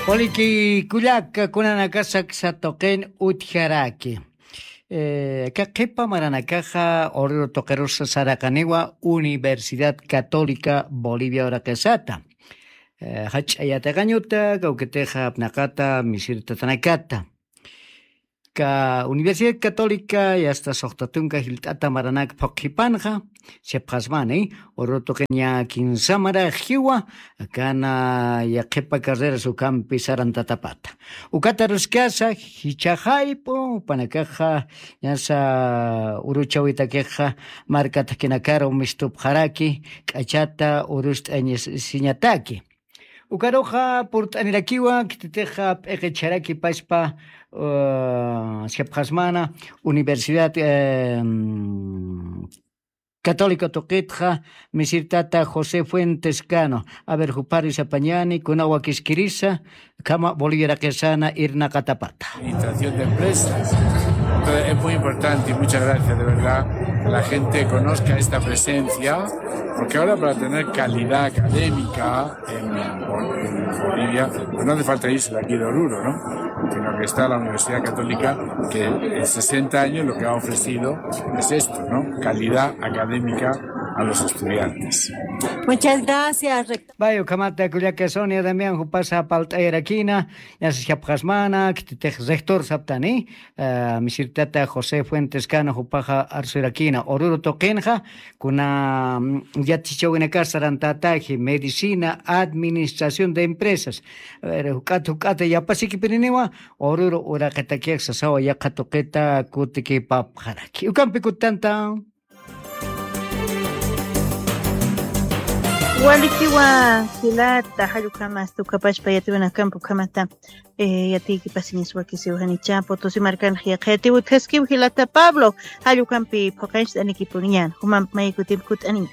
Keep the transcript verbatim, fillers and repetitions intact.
Waliki kullaka, kunanakasa aksa tuqin utjaraki. Eh, aka qhipa maranakaxa Oruro tuqirusa saraqaniwa Universidad Católica Bolivia uraqisata. Eh, jach'a yatiqañuta, kawkitixa apnaqata, misir tatanakata. Ka Universidad Católica yasta suxta tunka jilt'ata maranak phuqhipanxa, sipxasmani, Oruro tuqin ña kinsa marax jiwa, akana yaqhipa carreras ukampi sarantatapata. Ukata ruskasa, jichhaxayp'u, jupanakaxa, ñasa uruchawitakixa, marka thakinakaru mistupxaraki, k'achata urust'añasiñataki. Ukaruxa purt'anirakiwa, khititixa p'iqichharaki paspa, uh, sipxasmana, Universidad, em, Católica tuqitxa, misir tata José Fuentes Cano. A ver, jupharu sapañani, kuna wakiskirisa, khama Bolivia uraqisana irnaqatapata. Administración de empresas. Entonces, es muy importante y muchas gracias, de verdad, que la gente conozca esta presencia, porque ahora para tener calidad académica en, en Bolivia, pues no hace falta irse de aquí de Oruro, ¿no? Sino que está la Universidad Católica, que en sesenta años lo que ha ofrecido es esto, ¿no? Calidad académica a los estudiantes. Muchas gracias, rector. Vaya, ukhamata kullaka Sonia Damián jupasa palt'ayarakina, ñasa sipxasmana, khititix rector saptani, eh, misir tata José Fuentes Cano jupaxa arsurakina, Oruro tuqinxa, kuna, mm, yatichawinakasa sarantataki, medicina, administración de empresas. A ver, juk'at, juk'at, yapasikipiriniwa, Oruro uraqitakix sasawa yaqha tuqita kutikipapxaraki. Ukampi kutanta. Walikiwa jilata, jallukama, hasta ukapachpa yatiwinakampu kamata, eh, yatiki pasiñas wakisiw janicha, Potosí markanx yaqha yatiw utjaskiw jilata Pablo, jallukampi phuqancht'anikipuniñan, jumamp maykutimp kut'aniñan.